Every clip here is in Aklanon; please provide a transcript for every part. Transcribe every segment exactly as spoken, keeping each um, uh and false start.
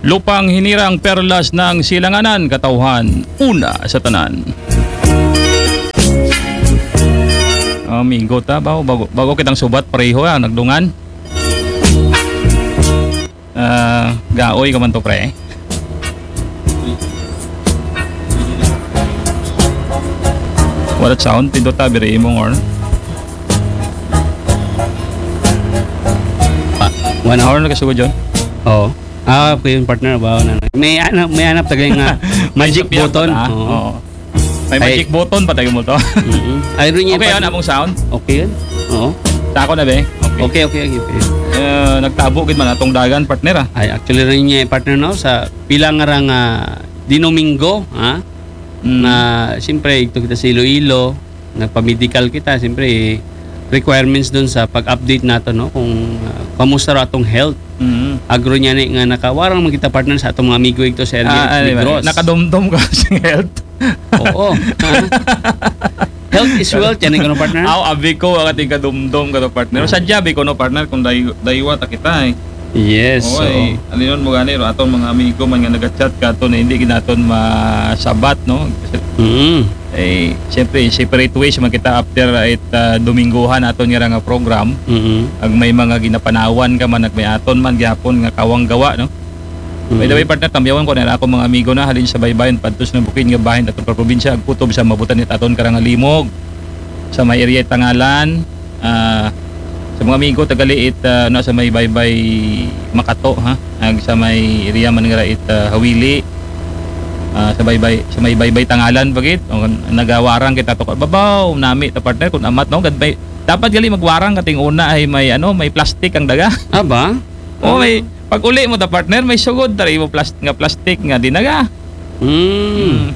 Lupang hinirang, perlas ng silanganan, katawhan, una sa tanan. Amigo ta, bago, bago, bago kitang subat, pareho, ah, nagdungan. Ah, gaoy ka man to, pre. Wala sound, pindot ta, biri imong horn. Ah, one hour. Horn na kasugod yun. Oo. Ah, okay yun, partner. Bawa na. May ano, may hanap tagay nga magic May sapian button. pa, ah. Oo. Oo. May Ay. Magic button pa tayo mo to. Mm-mm. Ay, rin niya, Okay, partner. Ano among sound? Okay yun. Oo. Sa ako na, be? Okay. Okay, okay, okay. okay. Eh, nagtabo gid man atong dagan, partner, ah. Ay, actually rin niya, partner, no? Sa pila nga rang ah, Dinomingo, ha? Mm. Na, siyempre, ito kita sa Iloilo, nagpa-medical kita, siyempre, requirements dun sa pag-update nato, no? Kung ah, kamusta ra atong health. Mm. Agro niya ni nga nakawarang man kita, partner, sa atong mga amigo ito sa area Ah, sa ano ba? Negros. Nakadumdum ka sa health. Oo. Ha? Health is wealth, yan yung ano, partner? Aw, abi ko, ang ating kadumdum ka to, partner. Sadya, bi ko, no, partner, kung day, daywa ta kita, eh. Yes. Oo, eh. Alinon mo gani, ro, atong mga amigo man nga nag-chat ka to na hindi ginaton masabat, no? Mm. Eh, siyempre, separate ways man kita after it ah, Domingguhan aton nga nga program. Mm. Ag may mga ginapanawan ka man, ag may aton man gyapon nga kawang gawa, no? By the way, partner, tambyawan ko na ako mga amigo na halin sa baybayon, padtos ng bukid nga bahin aton probinsya, ag kutob sa mabutan it aton karangalimog. Sa may area Tangalan, ah, sa mga amigo tagali it ah, na sa may baybay Makato, ha, ag sa may area man nga it ah, Hawili, ah, sa baybay sa may baybay Tangalan bagit, o, nagawarang kita to babaw nami ta, partner, kung amat, no, gad may, dapat gali magwarang kating una ay may ano, may plastic ang daga. Aba? Oh, may pag uli mo ta, partner, may sugod tari mo plast nga plastic nga dinaga. Mm.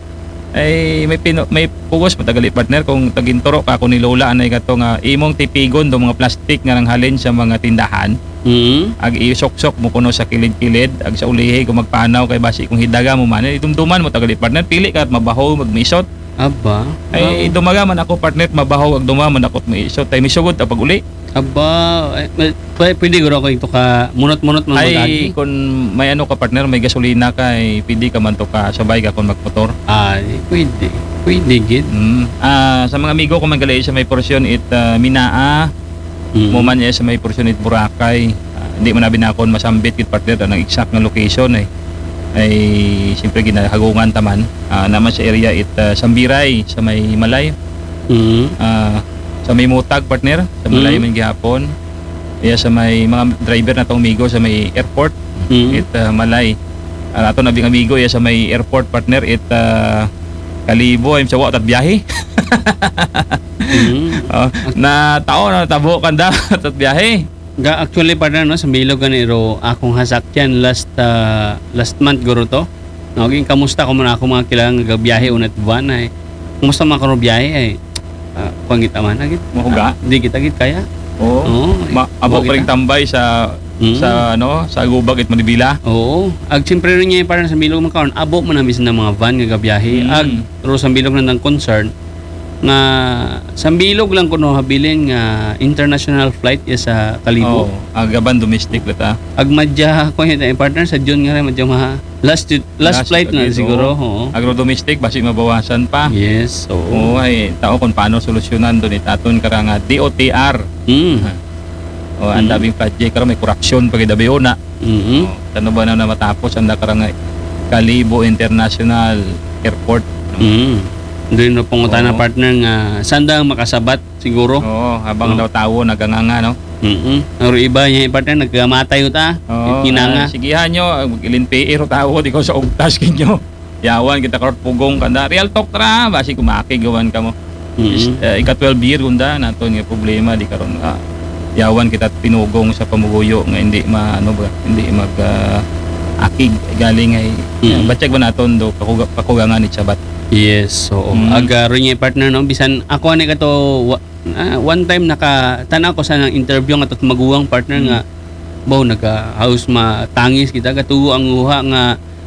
Ay may pino, may pugos mo tagali, partner, kung taginturo ka kung ni Lola anay ka to nga imong tipigon do mga plastic nga nanghalin sa mga tindahan. Mm. Ag isuksok mo kuno sa kilid-kilid, ag sa ulihi kung magpanaw kay basi kung hidaga mo man, idumduman mo tagali, partner, pili ka at mabaho magmisot. Aba? Ay dumaga man ako, partner, mabaho ag dumaga man ako misot. Ay misugod ta pag uli. Aba? Ay, may- pwede, pwede guro ko ito ka munot-munot man Ay magagi. Kung may ano ka, partner, may gasolina ka, ay pwede ka man to ka sabay ka kung magmotor. Ay, pwede. Pwede gid. Mm. Ah, sa mga amigo ko man gali sa may porsyon it ah, Minaa, Mm. mo man niya sa may porsyon it Boracay. Ah, hindi man na binakon masambit gid, partner, ang exact nga location, eh. Ay siyempre ginahagungan taman. Ah, naman sa area it ah, Sambiray sa may Malay. Mm. Ah, sa may Mutag, partner, sa Malay Mm. man gihapon. Iya sa may mga driver na tong Migo sa may airport, Mm. it ah, Malay. Ang ato na bing amigo iya sa may airport, partner, it ah, Kalibo, ay sa wa tat biyahe. Mm. Oh, na tao na tabo kanda tat biyahe. Ga actually, partner, no, sa Bilog gani ro akong hasakyan last ah, last month guro to. No, ging kamusta ko man ako mga kilang gabiyahe unat van ay. Kumusta man ko biyahe ay? Ah, kuan kita man agit. Mahuga? Ah, di kita git kaya. Oo. Oo. Ma- abo Bakit pa rin ah? Tambay sa Mm. sa ano, sa Gubag it Manibila. Oo. Ag siyempre rin niya, partner, sa Bilog man karon, abo man ang bisan ng mga van nga gabiyahe. Mm. Ag ro sa Bilog na ng concern nga sa Bilog lang kuno habilin nga international flight ya sa Kalibo. Oh, agaban domestic la ta. Ag madya ko yun, eh, partner, sa June nga rin, madya maha last last, Last flight na flight, siguro. Oo. Oo. Agro domestic basi mabawasan pa. Yes. Oo. Oo, ay tao kung paano solusyonan doon itaton karang ah, D O T R. Mm. O ang Mm. daming project karon, may korupsyon pag idabiona. Mm. Oh, kano ba na, na matapos ang karang ah, Kalibo International Airport? Mm. Doon na pangutana, Oo. partner, nga sanda ang makasabat siguro. Oo, habang Oo. daw tawo naganganga, no? Mm. Ang iba niya, partner, nagkamatay uta. Oo, Kinanga. Ah, sigihan nyo, ilinpiir o tawo di ko sa ugtas kinyo. Yawan kita karot pugong kanda. Real talk ra, basi kumakig gawan ka mo. Mm. Is- eh, ika twelve year gunda naton nga problema di karon nga yawan kita pinugong sa pamuguyo nga hindi ma ano ba, hindi mag ah, akig galing ay Mm. batyag ba naton do kakuga- kakugangan ni sabat. Yes, oo. Mm. Aga rin niya, partner, no? Bisan ako ani ka to wa- ah, one time naka tanaw ko sa nang interview nga to maguwang, partner, Mm. nga baw nagahaus matangis kita, gatuo ang uha nga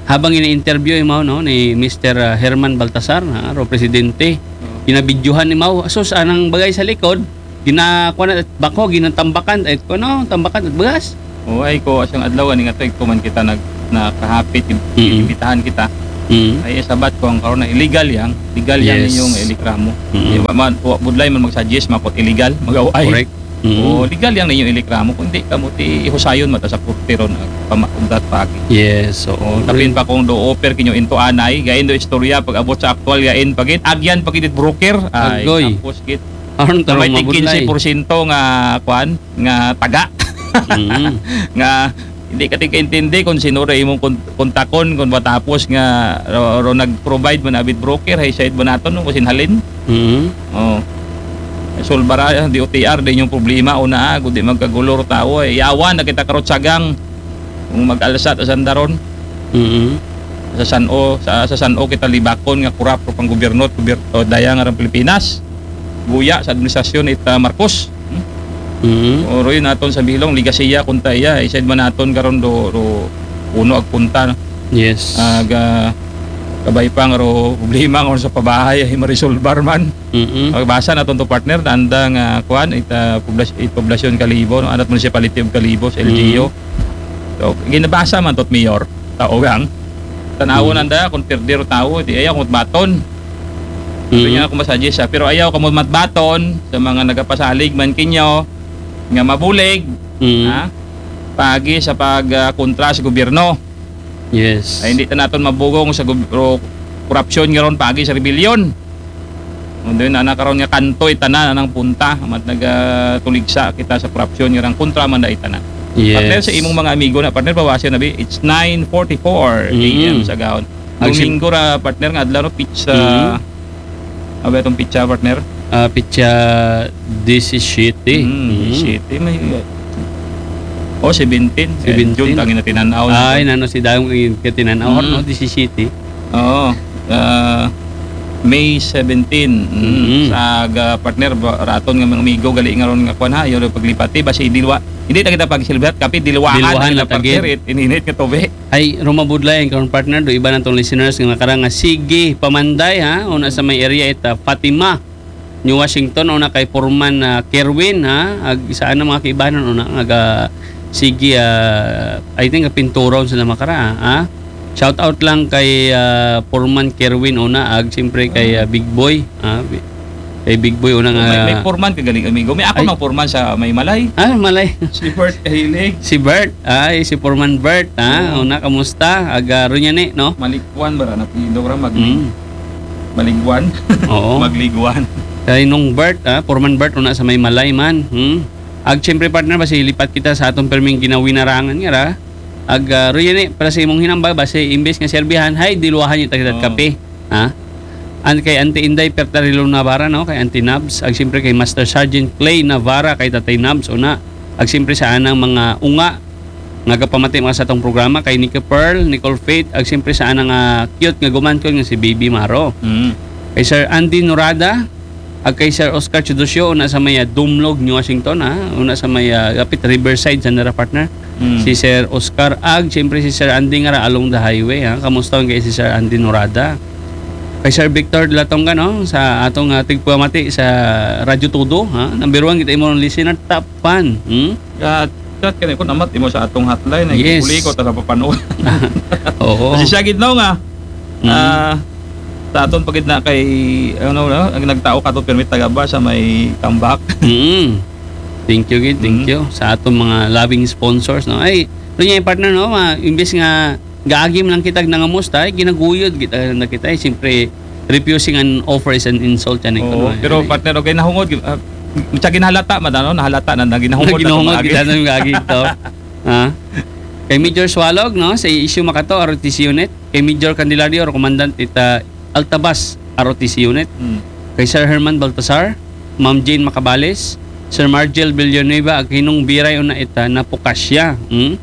habang ini-interview imaw, no, ni Mister ah, Herman Baltasar, ha, ro presidente. Ginabidyuhan ni Mau. So sa anang bagay sa likod, ginakuha na bako, ginatambakan, ay ko no, tambakan at bugas. O ay ko asang adlaw ani nga to, ko man kita nag na kahapit, im-, Mm. imbitahan kita. Mm. Ay, sabat ko ang karon na illegal yan. Legal yan Yes. ninyong ireklamo. Mm. Di ba, man, wa-, budlay man mag-suggest, makot illegal, mag-away. Correct. Mm. O, legal yan ninyong ireklamo. Kung di kamo, ti ihusayon mata sa korte ron, ah, pama-, ugdat pa agi. Yes, oo. O, tapin pa kung do offer kinyo into anay, gain do istorya, pag-abot sa aktual, gain pagit, agyan pagit it broker. Ay, Agoy. Tapos git. Aron May tarong tig mabudlay. Kinse porsyento nga, kwan, nga taga. Mm. Nga, hindi ka tig kaintindi kung sino ra imong kon-, kontakon, kung matapos nga, ro, ro nag-provide man abit broker, hay side ba naton, no? Kung sinhalin? Mm. Oh. Solbara, D O T R, di inyong problema, una, ah, kung di magkagulo ro tao, eh. Yawan na kita karot sagang, kung mag-alsa ta sandaron. Mm. Sa San-O, sa, sa San-O kita libakon nga corrupt ro pang gobyerno, gobyerno, daya nga rang Pilipinas. Guya sa administrasyon ita Marcos. Hmm? Mm. O, ro yun aton sa bilong, ligasiya, kunta iya, isaid man naton karon do, do, uno ag punta, no? Yes. Aga, kabay pa nga ro, problema nga sa pabahay, ay marisolbar man. Mm-mm. Pagbasa naton to, partner, na anda nga, kwan, ita poblas-, it poblasyon Kalibo, no? Anat Municipality of Kalibo, sa L G U. Mm. So, ginabasa man tot, Mayor, tao gang. Tanawon Mm. anda, kung pirder o tao, di ayaw kung baton. Sabi Mm. niya, kung masadya siya, pero ayaw kamo matbaton sa mga nagapasalig man kinyo nga mabulig, Mm. ha? Pagi sa pag, ah, kontra sa gobyerno. Yes. Ay, hindi ta naton mabugong sa gob-, ro-, korupsyon nga ron, pagi sa rebellion. Kung doon na, na karon nga kanto, itanan anang punta, mat nagatuligsa kita sa korupsyon nga rang kontra man da itanan. Yes. Partner, sa imong mga amigo na, partner, bawasin na bi, it's nine forty-four A M Mm. sa gahon. Ag sim- Domingo ra, partner, nga adlaw, no, pitsa, Mm. Abi atong pitsa, partner? Ah, pitsa disisiete. Mm, Mm. disisiete, may, oh, seventeen. Eh, Seventeen. June, tangin na tinanaw na. Ay, nano si Dayong yung katinanaw, Mm. no? Disisiete. Oo. Ah, May seventeen. Mm. Mm. Sa aga, partner, ba-, raton nga mga amigo, gali nga ron nga kwan, ha, yung paglipati, basi dilwa. Hindi na kita pag-celebrate, kape, dilwahan Dilwahan na kita, na tagid. Partner, it-, ininit nga tubig. Ay, rumabudlay ang karon, partner, do iba natong listeners nga nakarang nga sige pamanday, ha, una sa may area ita Fatima, New Washington, una kay Foreman, ah, Kerwin, ha, ag sa anang mga kaibanan, una nga ga-, sige, ah, I think, ah, pinturon sila makara, ha. Shout out lang kay, ah, Foreman Kerwin, una, ag siyempre kay, ah, Big Boy, ha, bi-, kay Big Boy, una nga May, may foreman ka galing, amigo. May ako Ay. Mang foreman sa may Malay. Ah, Malay. Si Bert Kahilig. Si Bert, ay, si Foreman Bert, ha? Oo. Una, kamusta? Aga, ro niya ni, no? Malikwan ba na? Apelyido ra, Magli-, Mm. Maligwan? Oo. Magligwan. Kay nung Bert, ha? Foreman Bert, una sa may Malay man. Hmm? Ag, siyempre, partner, basi lipat kita sa atong perming ginawinarangan nga ra. Ag, ah, ro yan eh, para sa imong hinambag, basi imbes nga serbihan, hay, diluwahan niyo ta kita Oo. Kape. Ha? An-, kay Auntie Inday Pertarilo Navarra, no? Kay Auntie Nabs. Ag, siyempre, kay Master Sergeant Clay Navarra, kay Tatay Nabs, una. Ag siyempre sa anang mga unga nga gapamati mga sa atong programa, kay Nika Pearl, Nicole Faith, ag siyempre sa anang, ah, cute nga gumankol nga si Baby Maro. Mm. Kay Sir Andy Norada, ag kay Sir Oscar Chudosio, una sa may, ah, Dumlog, New Washington, ha? Una sa may, ah, gapit Riverside, sa nara partner. Mm. Si Sir Oscar, ag siyempre si Sir Andy nga ra along the highway, ha? Kamusta kay si Sir Andy Norada? Kay Sir Victor Latonga, no? Sa atong, ah, tigpamati sa Radyo Todo, ha? Number one kita imong listener, top fan. Hmm? Ga-chat ka na ko, namat imo sa atong hotline, ay Yes. kukuliko ta sa papanahon. Oo. Kasi siya gid, no, nga, Mm. ah, sa aton pagid na kay, ano, no, ang nagtao ka to, permit tagaba sa may tambak. Mm. Thank you, gid. Thank Mm. you sa atong mga loving sponsors, no? Ay, ito niya yung partner, no? Ma-, imbes nga gaagi man lang kita nangamusta, ay, ginaguyod kita, na kita, eh. Siyempre, refusing an offer is an insult, yan, eh, Oo, kuno, eh. Pero, Ay. Partner, okay, nahungod, ah, siya ginahalata, madano, nahalata na, na ginahungod na Ginahungod tumaagi. Kita nang gaagi ito. Ha? Kay Major Swalog, no, sa issue makato, R O T C unit. Kay Major Candelario, Commandant ita Altabas, R O T C unit. Hmm. Kay Sir Herman Baltasar, Ma'am Jane Macabales, Sir Margel Villanueva, ag hinong biray una ita Napukasya. Hmm?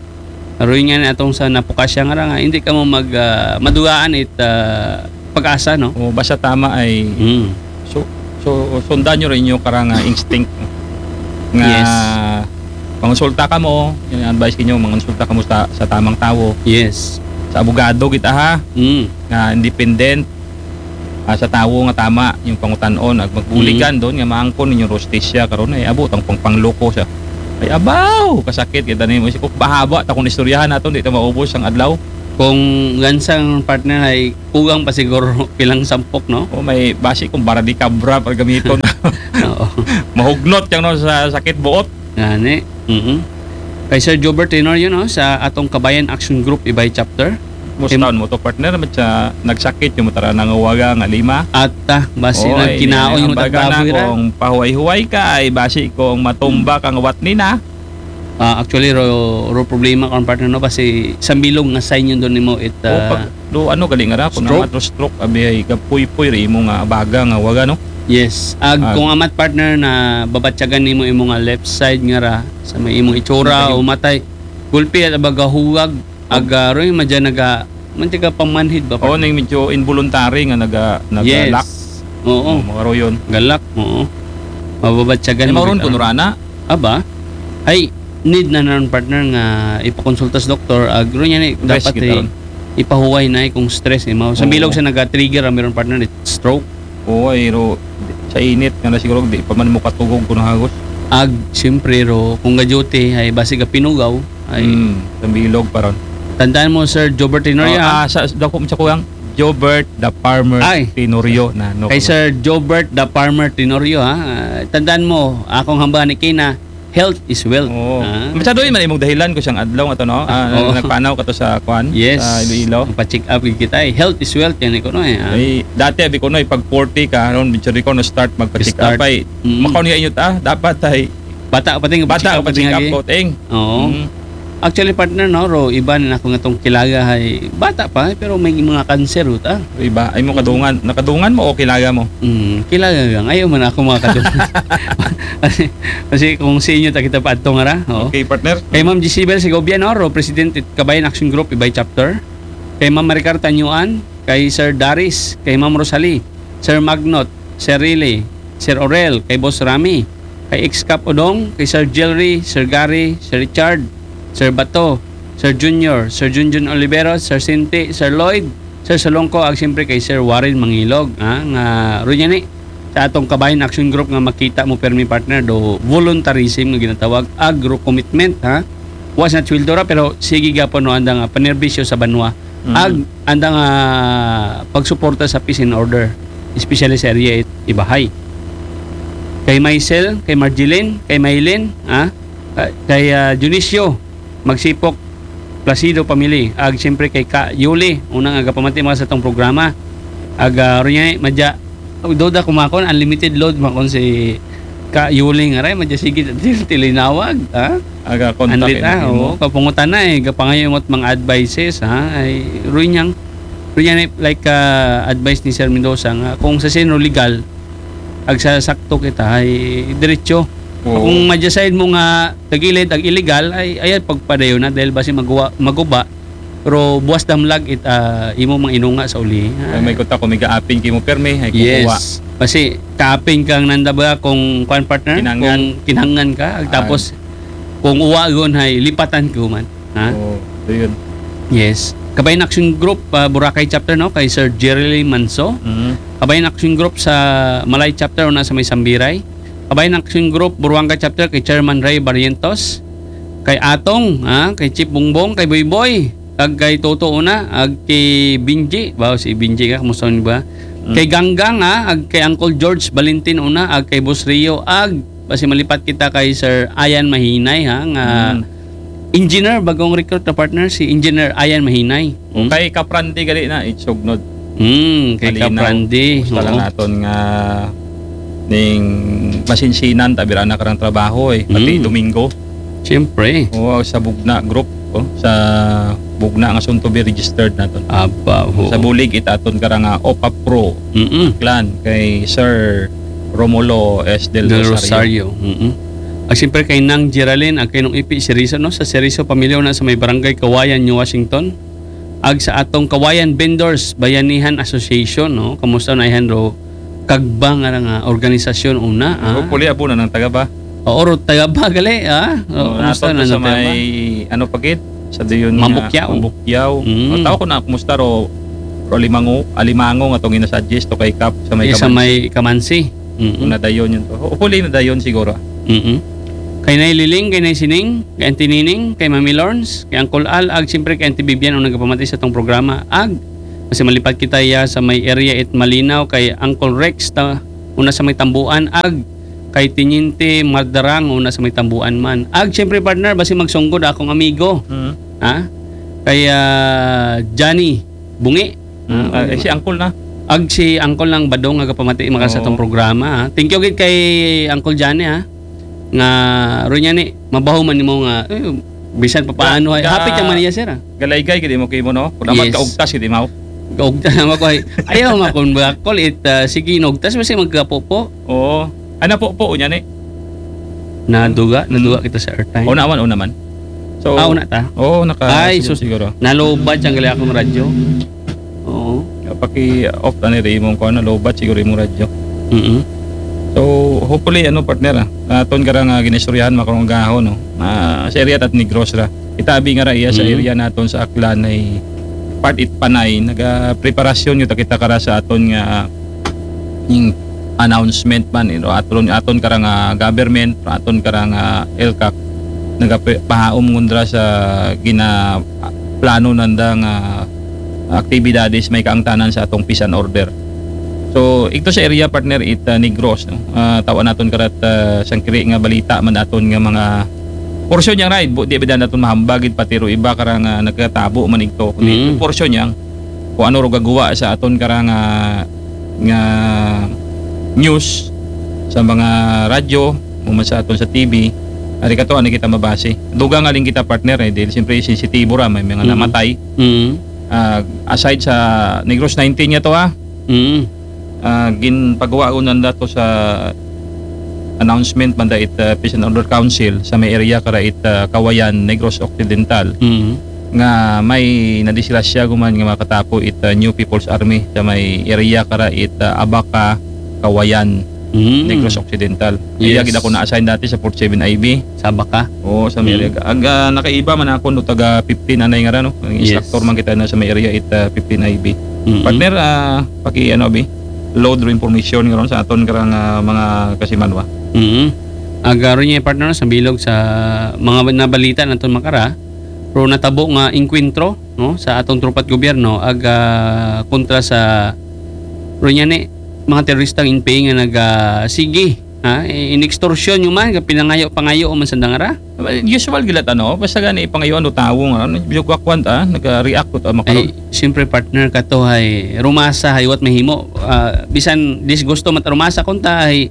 Aroy nga ni atong sa Napukasya nga ra nga, hindi ka mo mag, ah, madugaan it, ah, pag-asa, no? O, basta tama ay Mm. so, so, sundan nyo rin yung karang, ah, instinct nga Yes. mangonsulta ka mo, yung advice kinyo, mangonsulta ka mo sa, sa tamang tao. Yes. Sa abogado kita, ha? Mm. Nga independent, ah, sa tawo nga tama yung pangutan-on, ag magbuligan Mm. doon nga maangkon ninyo hustisya karon ay abot ang pangpangloko siya. Ay, abaw, kasakit kita nimo. Isip ko, bahaba ta kung istoryahan naton, di ta maubos ang adlaw. Kung gansang partner ay kugang pa siguro pilang sampok, no? O, may basi kung bara di kabra pag gamiton. Oo. Mahugnot yang no sa sakit buot. Gani. Mhm. Kay Sir Jobert Tenorio, no, sa atong Kabayan Action Group Ibay Chapter. Mustaon mo to, partner? Mat sa nagsakit yung matara nangawaga nga lima. Ata, basi Oo, nagkinaon ay, yung baga na tagbaboy ra. Kung pahuway-huway ka, ay basi kung matumba kang wat nina. Ah, actually, ro, ro problema kung partner, no, basi sambilog nga sign yun doon nimo it, O, ah, pag, do, ano, gali nga ra, kung stroke? Naman to stroke, abi ay gapuy-puy, ri imo nga baga nga waga, no? Yes. Ag Ag- kung amat partner na babatyagan nimo imo nga left side nga ra sa may imong itsura Nagahig- o matay, gulpi at abaga huwag, ag ah, roy madya naga, man tiga pamanhid ba, O, partner? Ning medyo involuntary nga naga, Yes. nagalak. Oo. Mga royon. Galak, oo. Mababatyagan Ay, mo mauron bitaw. Kuno rana. Aba, ay, need na naman partner nga ipakonsulta sa doktor. Ag roy niya ni, Rest dapat kita eh, ron. Ipahuway na eh kung stress eh. Mao, sa Oo. bilog sa naga-trigger ang meron partner, it's stroke. Oo, ay, ro, sa init nga na siguro, di pa man mo katugog kung hagos. Ag, siyempre ro, kung ga-duty, ay basig pinugaw, ay Hmm, sa bilog pa ron. Tandaan mo, Sir Jobert Tenorio, Oh, ha? Ah, sa, sa, sa, sa kuyang Jobert the Farmer Ay. Tenorio na, no? Kay Sir Jobert the Farmer Tenorio, ha? Ah, tandaan mo, akong hamba ni Kina, health is wealth. Oo. Ha? Masyado yun man imong dahilan ko siyang adlaw nga to, no? Ah, Oo. Nagpanaw ka to sa kwan? Yes. Sa Iloilo? Ang pa-check up yung kita eh. Health is wealth, yan ko no eh. Ha? Ay, dati abi ko no, pag forty ka, ron, medyo ko no start magpa-check Start. up ay. Mm. Makaw niya inyo ta, dapat ay Bata, bata pa-check ka up pa-check lagi. Up ko, ting. Oo. Mm. Actually, partner, no, ro, iba na ako nga tong kilaga ay bata pa, pero may mga cancer uta. Iba, ay mo kadungan, nakadungan mo o kilaga mo? Mm, kilaga lang. Ayaw man ako mga kadungan. kasi, kasi kung sa inyo, takita pa adto nga ra. Oo. Okay, partner. Kay Ma'am Jezebel Segovia, no, ro, President it Kabayan Action Group, Ibay Chapter. Kay Ma'am Maricar Tanyuan, kay Sir Daris, kay Ma'am Rosalie, Sir Magnot, Sir Riley, Sir Orel, kay Boss Rami, kay Ex-Cap Odong, kay Sir Jerry, Sir Gary, Sir Richard, Sir Bato, Sir Junior, Sir Junjun Oliveros, Sir Sinti, Sir Lloyd, Sir Salongko, ag siyempre kay Sir Warren Mangilog, ha, nga ro niya ni sa atong Kabayan Action Group nga makita mo permi partner do voluntarism nga ginatawag agro commitment, ha. Wa sa sweldo ra, pero sige gapon no anda nga panerbisyo sa banwa. Mm. Ag anda nga pagsuporta sa peace and order, especially sa area it Ibahay. Kay Maisel, kay Marjeline, kay Maylin, ha? Kay, kay, ah, Dionisio Magsipok, Placido family, ag siyempre kay Ka Yuli, unang agapamati mga sa tong programa. Ag ah, ro niya, madya, oh, doda kumakon, unlimited load makon si Ka Yuli nga ray, madya sige, til-, tilinawag, ha? Aga contact Andit, ah, mo. Oo, kapungutan na eh, gapangayo mo mga advices, ha? Ay, ro niyang, ro niya ni, like, ah, advice ni Sir Mendoza nga, kung sa sino legal, ag sa sakto kita, ay diretso. Oo. Kung madya side mo nga tagilid, ag illegal, ay, ay, pagpadayon na, dahil basi maguwa, maguba, pero buwas damlag it, ah, imo mga inunga sa uli. Ay, may kuta ko, may gaapin kay mo permi, ay kukuha. Yes. Kasi kaapin kang nanda ba kung kwan partner? Kinangan. Kung kinangan ka, ag Ah. Tapos kung uwa gon ay lipatan ko man. Ha? Oo, so yun. Yes. Kabayan Action Group, ah, Boracay Chapter, no? Kay Sir Jerry Manso. Mhm. Kabayan Action Group sa Malay Chapter, una sa may Sambiray. Kabayan Action Group, Buruanga Chapter, kay Chairman Ray Barrientos. Kay Atong, ha? Kay Chief Bongbong, kay Boy Boy. Kag kay Toto una, ag kay Binji. Ba, si Binji ka, kumusta ni ba? Mm. Kay Ganggang, ha? Ag kay Uncle George Valentin una, ag kay Boss Rio, ag basi malipat kita kay Sir Ayan Mahinay, ha? Nga Mm. engineer, bagong recruit na partner, si Engineer Ayan Mahinay. Hmm? Kay Kaprandi gali na, itsugnod. Hmm, kay Malinaw. Kaprandi. Gusto lang Oo. naton nga ning masinsinan, tabira na karang trabaho eh. Pati Mm. Domingo. Siyempre. Oo, sa Bugna Group, oh, sa Bugna nga soon to be registered naton. Aba, oo. Sa bulig itaton karang nga OPA Pro Mm-mm. Clan kay Sir Romulo S. Del Del Rosario. Rosario. Mm-mm. Ag siyempre kay Nang Geraldine, ag kay Nong Ipi Serizo, no? Sa Serizo pamilya na sa may barangay Kawayan, New Washington. Ag sa atong Kawayan Vendors Bayanihan Association, no? Kamusta na ihan ro kagbang nga nga organisasyon una, ah? Hopefully, abo na ng taga ba? Oo, ro taga ba gali, ah? Oh, Kamusta nato na sa ng taga ba? may, ano pa gid? Sa dayon nga Mambukyaw. Mambukyaw. Mm. Ang tao ko na, kumusta ro? Ro Alimango, Alimango nga tong ina-suggest to kay Kap sa may Yes, sa Kamansi. may Kamansi. Mm-mm. Kung nadayon yun to. Hopefully, nadayon siguro. Mm-mm. Kay Nay Liling, kay Nay Sining, kay Auntie Nining, kay Mami Lawrence, kay Uncle Al, ag siyempre kay Auntie Vivian ang nagapamati sa atong programa. Ag, basi malipad kita ya sa may area it Malinaw, kay Uncle Rex, ta, una sa may Tambuan, ag, kay Tiniente Mardarang, una sa may Tambuan man. Ag, siyempre partner, basi magsunggod akong amigo. Mm. Ha? Kay ah, Johnny Bungi. Mm. Ah, eh, si Uncle na. Ag si Uncle lang Badong nga gapamati maka sa Oo. atong programa. Ha? Thank you gid kay Uncle Johnny ha. Nga ro niya ni mabaho man nimo nga eh, bisan pa paano ay Ga- happy ka man niya sir. Ha? Galaygay gid mo kay mo, no? Kung dapat Yes. Kaugtas gid mo. Kaugta na ako ay ayaw ma kun ba call it ah, sige inugtas basi magkapopo. Oo. Ana po po unya ni. Naduga, naduga kita sa airtime. O naman, o naman. So, Ah, una ta? Oo, naka Ay, siguro, sus. Siguro. Nalobat ang gali akong radyo. Oo. Paki-off na ni imong kuan, nalobat siguro imong radyo. Mm. So, hopefully, ano, partner, ah, aton ka ra nga ginistoryahan, makarong gahon, no? Ah, sa area tat Negros ra. Itabi nga ra iya sa Mm. area naton sa Aklan ay part it Panay, naga preparasyon yung takita kara sa aton nga yung announcement man, you know, aton aton kara nga government, aton kara nga ELCAC nagapahaom ngundra sa gina plano nanda nga aktibidades may kaangtanan sa atong peace and order. So, ito sa area partner it uh, Negros, no? Ah, tawan naton karat uh, sangkiri nga balita man aton nga mga porsyon yang ride, bu- di bidan naton mahambagid pati ro iba karang uh, nagkatabo man ito. Kundi Mm. Porsyon yang kung ano ro gagawa sa aton karang uh, nga news sa mga radyo, o man sa aton sa T V, ari kato ani kita mabase. Duga nga lang kita partner eh, dahil siyempre sensitibo ra may mga Mm. namatay. Mm. Ah, aside sa Negros nineteen niya to ha, Mm. ah, ginpagawa ko nanda to sa announcement man da it uh, Peace and Order Council sa may area kara it uh, Kawayan, Negros Occidental Mm. nga may nadisgrasya guman nga makatapo it uh, New People's Army sa may area kara it uh, Abaca, Kawayan, Mm. Negros Occidental. Yes. Iya gid ako na-assign dati sa forty-seven I B. Sa Abaca. Oo, sa may Mm. area. Ang ah, nakaiba man ako no taga fifteen anay nga ra no. Ang Yes. instructor man kita na sa may area it uh, fifteen I B. Mm. Partner, ah, paki ano abi, load ro information nga ron sa aton karang ah, mga kasimanwa. Mm. Agaro niya partner sa bilog sa mga nabalita naton makara, pero natabo nga engkwentro no sa atong tropa't gobyerno ag ah, kontra sa ro niya ni mga teroristang N P A nga naga sige ha inextortion nyo man pinangayo pangayo man sa dangara. Usual gilat ano, basta gani ipangayo ano tawo nga ano, biyo kwakwan ta, nag-react ko ta makaron. Ay, siyempre partner ka to hay rumasa hay what mahimo. Ah, bisan disgusto mat rumasa kunta hay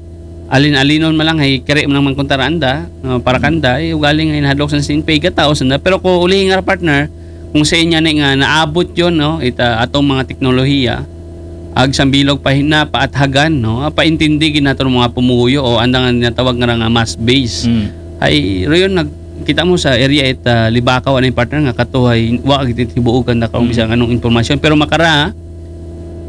alin-alinon man lang hay kere man lang man kunta randa, ah, para kanda ay ugaling ay nahadlok sa sin pay ka tao sanda. Pero ko uli nga partner, kung sa inya ni nga naabot yon no, ita atong mga teknolohiya ag sambilog pa hina paathagan no, paintindi gid nato mga pumuyo o andang natawag nga nga mass base. Mm. Ay, rayon nag kita mo sa area it ah, Libakaw anay partner nga katuhay wa gid tibuogan na karon Mm. bisan anong impormasyon pero makara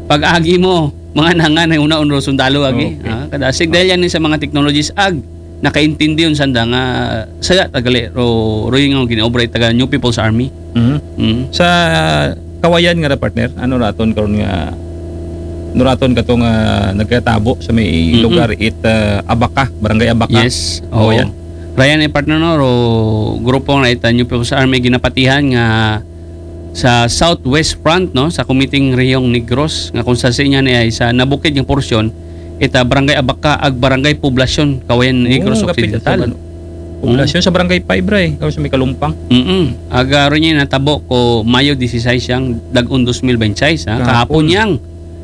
pag-agi mo mga nangan ay una unro sundalo agi. Okay. Ah, kada sig dahil yan sa mga technologies ag nakaintindi yun sanda nga saya tagali ro roy nga ginaobra it taga New People's Army. Mhm. Mm. Sa Kawayan nga ra partner, ano raton karon nga nuraton kato nga nagkatabo sa may Mm-mm. lugar it ah, Abaca, Barangay Abaca. Yes. Oh, Oo. yan. Ryan ay partner no, ro grupo nga ita New People's Army ginapatihan nga sa Southwest Front no, sa Kumiting Rehiyong Negros nga kung sa sinya ni ay sa nabukid nga porsyon ita Barangay Abaca ag Barangay Poblacion, Kawayan, Negros Oo, kapit Occidental. sa Poblacion sa Barangay five ra eh, karon sa may Kalumpang. Mm. Aga ron niya natabo ko Mayo dieciséis yang dag-on dos mil veintiséis ha. Kahapon. Kahapon yang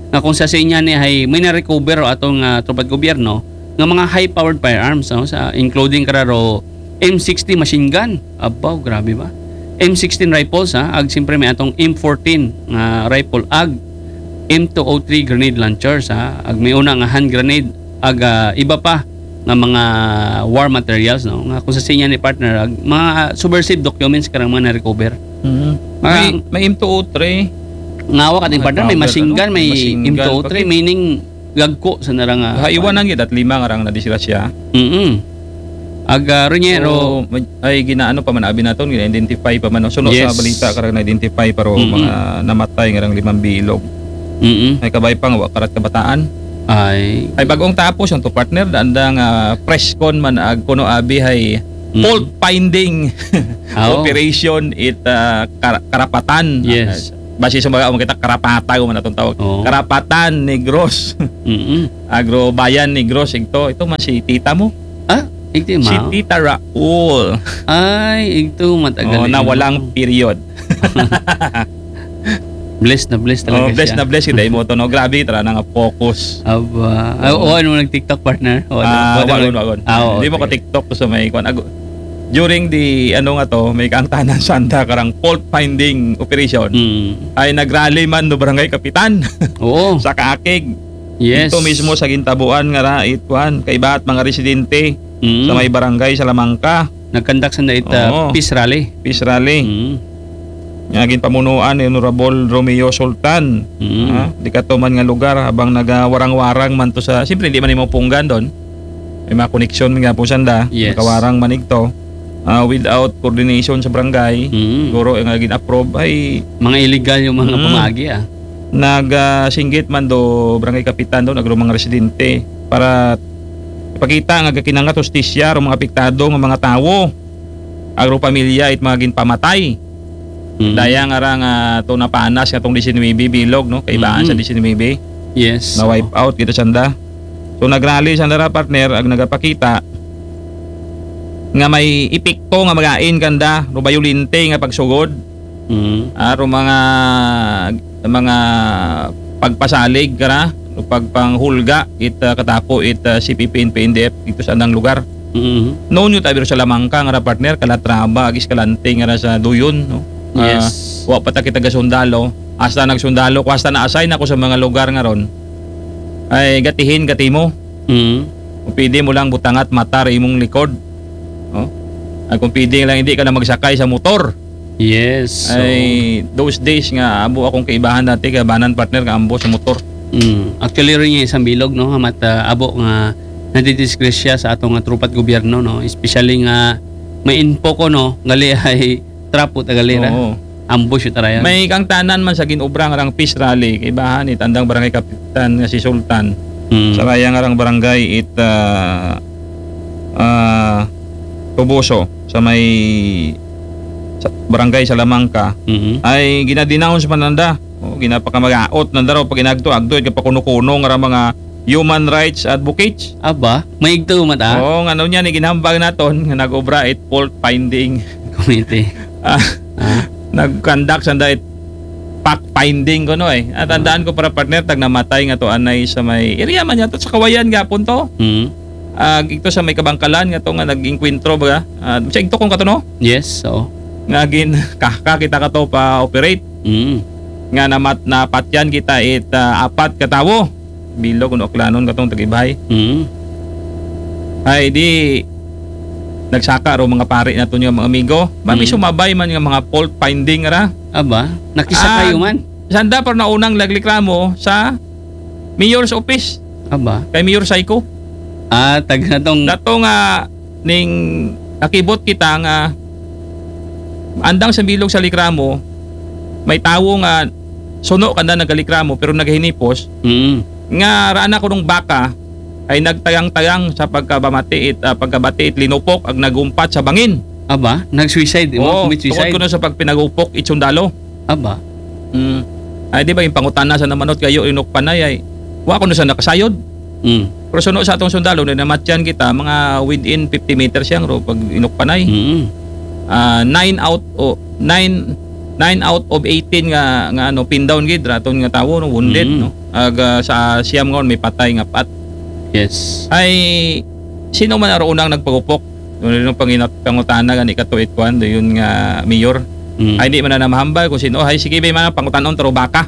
nga kung sa sinya ni ay may na-recover o atong ah, tropa't gobyerno nga mga high-powered firearms no, sa including kararo M sixty machine gun. Abaw, grabe ba? M sixteen rifles ha, ag siyempre may atong M fourteen nga rifle ag M two oh three grenade launchers ha, ag may una nga hand grenade ag ah, iba pa nga mga war materials no, nga kung sa sinya ni partner ag mga ah, subversive documents karang mga na-recover. Mhm. Mga May, may M two oh three. Nga wa ka din partner, may Power, machine ano? Gun, may Machine gun, M two oh three, pati- meaning gagko sa narang ah, Haiwanan gid at lima nga rang nadisgrasya. Mm. Aga ron niya ro. So, may- ay ginaano pa man abi naton, gina-identify pa man. Suno Yes. Sa balita karang na-identify pero Mm-mm. mga namatay nga rang limang bilog. Mm. Ay kabay pa nga wa karat kabataan. Ay. Ay bagong tapos ang to partner daan da nga press con man ag kuno abi hay Mm. Fault finding Ah, oo. operation it, ah, Kar-, Karapatan. Yes. Ah, base sa mga, kita, Karapatan, kung ano itong tawag. Oo. Karapatan Negros. Mm-mm. Agrobayan Negros, ito. Ito man si tita mo. Ah, igto Si ma? Tita Raul. Ay, igto matagal Oh, na na yun. Walang period. Bless na bless talaga Oh, bless siya. na bless kita imo to, no? Grabe, tara na nga focus. Aba. Ah, Oo. oo, ano, nag-TikTok, partner? O, Ah, ano, wagon, wagon. Ah, oo, Hindi mo sige. ka-TikTok to sa may kwan. Ago-, during the, ano nga to, may kaangtanan sanda karang fault finding operation. Mm. Ay nagrally man do barangay kapitan Oo. sa Kaakig. Yes. Ito mismo sa gintabuan nga ra, it kwan, kaibahan it mga residente Mm. sa may barangay Salamanca. Nag-conduct sanda it, ah, Oo. peace rally. Peace rally. Mm. Nga ginpamunuan ni Honorable Romeo Sultan. Mm. Ah, di kato man nga lugar habang nagawarang-warang man to sa, siyempre, hindi man imo punggan doon. May mga koneksyon man nga po sanda. Yes. Nakawarang man igto. Ah, without coordination sa barangay, Mm. siguro nga gin-approve ay Mga illegal yung mga Mm. pamagi, ah. Nag, ah, singgit man do barangay kapitan doon, agro mga residente, para ipakita nga gakinangat hustisya ro mga apektado nga mga tawo, agro pamilya, it mga ginpamatay. Mm. Daya nga ra nga to napanas nga tong disinuybe bilog, no? Kaibahan Mm. sa disinuybe. Yes. Na wipe out kita sanda. So, nagrally sanda ra, partner, ag nagapakita nga may epekto nga magain kanda, ro bayolente nga pagsugod. Mm. Ah, ro mga, mga pagpasalig kara, ro pagpanghulga, it, ah, katapo, it, ah, C P P, N P, N D F, dito sa andang lugar. Mm. Noon yung tabi ro sa Lamangka, nga ra, partner, Calatrava, ag Escalante, nga ra sa Duyon, no? Ah, Yes. wa pa ta kita gasundalo. Hasta nagsundalo ko, hasta na-assign ako sa mga lugar nga ron. Ay, gatihin, gati mo. Mm. Kung pwede mo lang butangat mata ra imong likod. No? Ay, kung pwede lang, hindi ka na magsakay sa motor. Yes, so Ay, those days nga, abo akong kaibahan dati, kabanan, partner, nga ambo sa motor. Mm. Actually, rin yung isang bilog, no? Hamat, ah, abo nga nadidisgrasya sa atong nga trupa't gobyerno, no? Especially nga may info ko, no? Gali ay trapo ta gali ra. Oo. Ambush ta ra yan. May kangtanan man sa ginobra nga rang peace rally, kaibahan it andang barangay kapitan nga si Sultan. Mm. Sa raya nga rang barangay it, ah, ah, Toboso, sa may, sa barangay Salamanca, Mm-hmm. ay ginadenounce man nanda. O, ginapakamagaot nanda raw pag inagto-agto, it kapakuno-kuno nga ra mga human rights advocates. Aba, may igto man ta? Oo, nga, ano niya, ni ginhambag naton, nga nag-obra it fault finding Committee. Ah, Ah. nag-conduct sanda it fact finding ko, no, eh. At tandaan ko para, partner, tag namatay nga to anay sa may area man yata sa Kawayan gapon to. Mm. Ah, ito sa may Kabangkalan nga to nga nag-inkwentro baga. Ah, sa igto kong kato, no? Yes, oo. Nga gin-, ka-, kakita ka to pa-operate. Mm. Nga namat-, napatyan kita it, ah, apat ka tawo. Bilog, kuno Aklanon katong tag-ibahay. Mm. Ay, di, nagsaka ro mga pari naton nga mga amigo. Mami, Mm. sumabay man nga mga fault finding ra. Aba, nakisaka Ah, man. Sanda, pero naunang nagreklamo sa mayor's office. Aba. Kay Mayor Saiko. Ah, tag na tong Dato nga ning nakibot kita nga andang sa bilog sa reklamo, may tawo nga suno kanda nagreklamo pero nagahinipos Mm. nga raan ako nung baka ay nagtagang-tagang sa pagkabamati it, ah, pagkabati it linupok ag nagumpat sa bangin. Aba, nag-suicide, imo Oo, commit tungod suicide. Kuno sa pagpinagupok it sundalo. Aba. Mm. Ay, di ba, yung pangutana sa namanot kayo, inukpanay ay, wa kuno sa nakasayod. Mm. Pero suno sa atong sundalo, na namatyan kita, mga within fifty meters yang ro, pag inukpanay. Mm. Ah, nine out, o, nine, nine out of eighteen nga, nga, ano, pin down gid, raton nga tawo, no, wounded, Mm. no? Ag, ah, sa siyam nga, may patay nga pat. Yes. Ay, sino man aro unang nagpagupok? Doon yung panginat-, pangutana gani ka to it kwan, do yun nga mayor. Mm. Ay, di man na mahambal kung sino. Ay, sige, bay, man ang pangutanon, taro baka.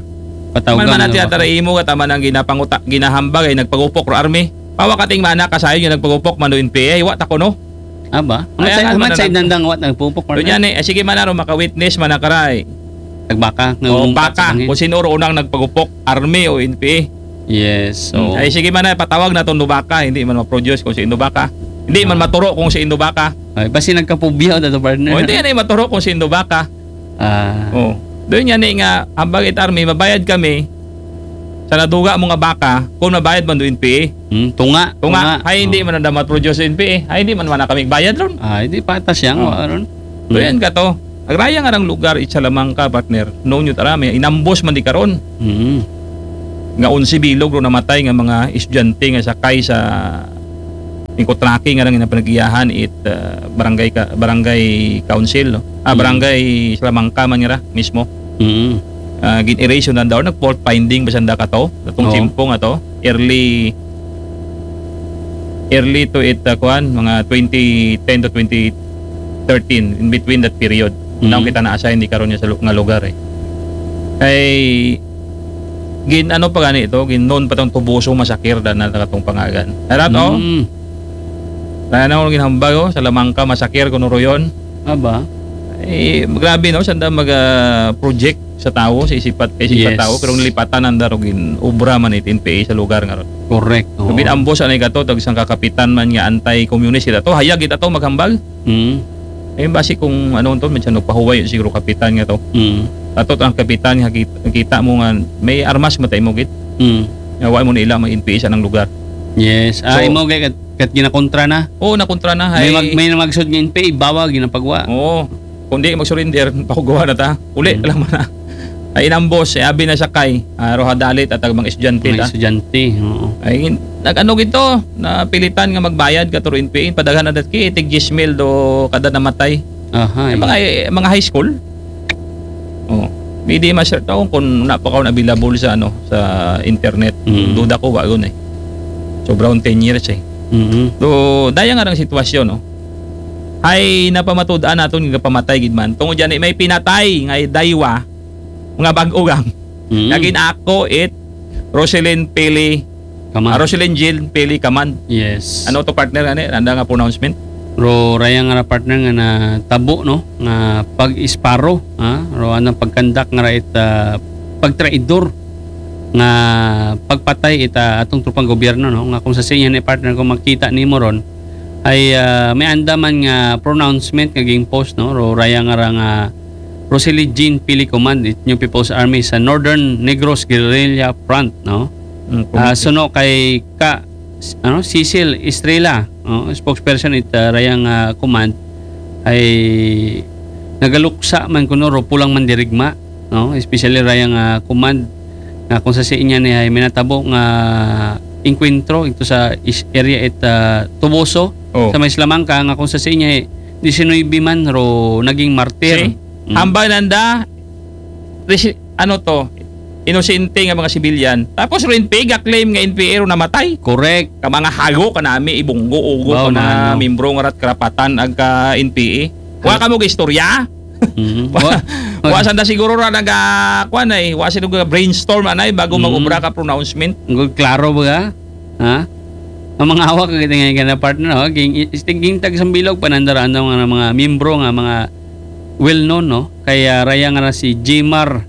Patawgan Man, man na natin ba? Atara imo, kataman ang ginapanguta-, ginahambal, ay nagpagupok ro army. Pawa kating mana, kasayon yung nagpagupok, man do N P A, ay, wa ta kuno. Aba? Ay, Amat sa, ang ano amat na sa lang. Nandang, wa nagpupok, Doon partner? Yan eh, ay, sige man na ro, maka-witness, man na karay. Nagbaka, nga O, umpat baka, sa bangin. Kung sino ro unang nagpagupok, army o N P A. Yes, Hmm, so ay, sige man na, patawag na tong Nubaka, hindi man ma-produce kung si Nubaka. Hindi man Ah. maturo kung si Nubaka. Ay, basi nagkapubya na to, partner. O, hindi yan ay maturo kung si Nubaka. Ah. O, doon yan eh nga, ambag it army, mabayad kami, sa naduga mo nga baka, kung mabayad man do N P A. Hmm, tunga, Tunga, tunga. Ay, hindi Oh. man nanda ma-produce N P A. Ay, hindi man man kami bayad ron. Ah, hindi patas yan, Oh. wa ron. So, Hmm. yan ka to. Agraya nga rang lugar, it Salamanca, partner. Noon yun, arami, inambos man di karon. Hmm. Nga onse bilog ro namatay nga mga estudyante nga sakay sa Inko trucking nga rang ginapanagiyahan it, ah, barangay ka, barangay council, no? Ah, Hmm. barangay Salamanca man nga ra mismo. Hmm. Ah, gin-erase yun daw, nag-fault finding ba sanda ka to? Itong Oo. Tiempo nga to, early, early to it, ah, kuan, mga twenty ten to twenty thirteen, in between that period. Mm. Naong kita na-assign di karon niya sa lu-, nga lugar, eh. Kay, gin, ano pa gani ito? Gin, noon pa tong Tubuso Masakir, da na katong pangagan. Arat, oh? Mm. Kaya na akong ginhambag, oh, Salamanca Masakir, kuno ro yun. Aba. Eh, grabe, no? Sanda mag, ah, project sa tao, sa isipat, sa isipat Yes. tao, pero nilipatan ang darog in obra man it N P A sa lugar nga ron. Correct, oo. Sabi, ambos anay ka to, tag isang kakapitan man nga anti-communist kita to, hayag kita to, maghambag. Mm. Eh, basi kung ano to, minsan nagpahuway siguro kapitan nga to. Mm. Ato ang kapitan nga kita, kita mo nga may armas matay mo git. Mm. Nga wa mo na ila mag-N P A sa nang lugar. Yes. Ah, So, imo kay kat, kat ginakontra na? Oo, nakontra na. May Ay, mag-, may namagsud nga N P A, bawa, ginapagwa. Oo. Kung di mag-surrender, pakugawa na ta. Uli, Mm. alam mo na. Ay, inambos, eh, abi na sakay. Ah, roha dalit at ang mga estudyante Mga ta. estudyante, oo. Ay, nag-ano gito, napilitan nga magbayad ka to N P A, padaghan na dat ki, tig diyes mil do kada namatay. Aha, Ay, eh. mga, mga high school. Oh. Hindi ma-share taon kung na pa kaon available sa, ano, sa internet. Mm. Duda ko, wa yun eh. Sobrang ten years eh. Mm-hmm. So, daya nga ng sitwasyon, no? Ay, napamatud-an naton nga pamatay gid man. Tungod yan, eh, may pinatay nga daywa, mga bag-o gang. Mm. Naging ako it Roselyn Pili, Kaman. ah, Roselyn Jean Pili Kaman. Yes. Ano to, partner, ani? Anda nga pronouncement? Ro, raya nga ra, partner, nga natabo, no? Nga pag-isparo, ha? Ro, anang pagkandak nga ra it, ah, pagtraidor nga pagpatay ita atong tropang gobyerno, no? Nga kung sa sinya ni, partner, kung makita nimo ron, ay, ah, may anda man nga pronouncement nga ging post, no? Ro, raya nga ra nga Roselyn Jean Pili Command, it New People's Army sa Northern Negros Guerrilla Front, no? Mm, Ah, committee. Suno kay ka, ano, Cecil Estrella, no? Spokesperson it, ah, rayang, ah, command ay nagaluksa man kuno ro pulang mandirigma, no? Especially rayang, ah, command nga kung sa sinya ni ay minatabo nga engkwentro ito sa is-, area it, ah, Tuboso, Oh. sa may Salamanca, nga kung sa sinya, eh, diecinuebe man ro naging martir. See? Mm. Hambal nanda, resi-, ano to, inosente nga mga sibilyan. Tapos ro N P A, ga-claim nga N P A ro namatay. Correct. Ka mga hago ka nami, ibunggo, ugo Ba, ka na mga ano. Membro nga rat karapatan ag ka N P A. Wa Correct. ka mo istorya? Mhm. Wa, Wa, wa sanda siguro ra naga, kuwan ay, wa sila ga brainstorm anay bago Mm. mag-obra ka pronouncement. Ang klaro ba ka? Ha? Ang mga hawak ka gid nga partner, oh, ging, ging tag Sambilog, panandaraan daw nga mga miyembro nga mga well known, no? Kaya raya nga na si Jimar,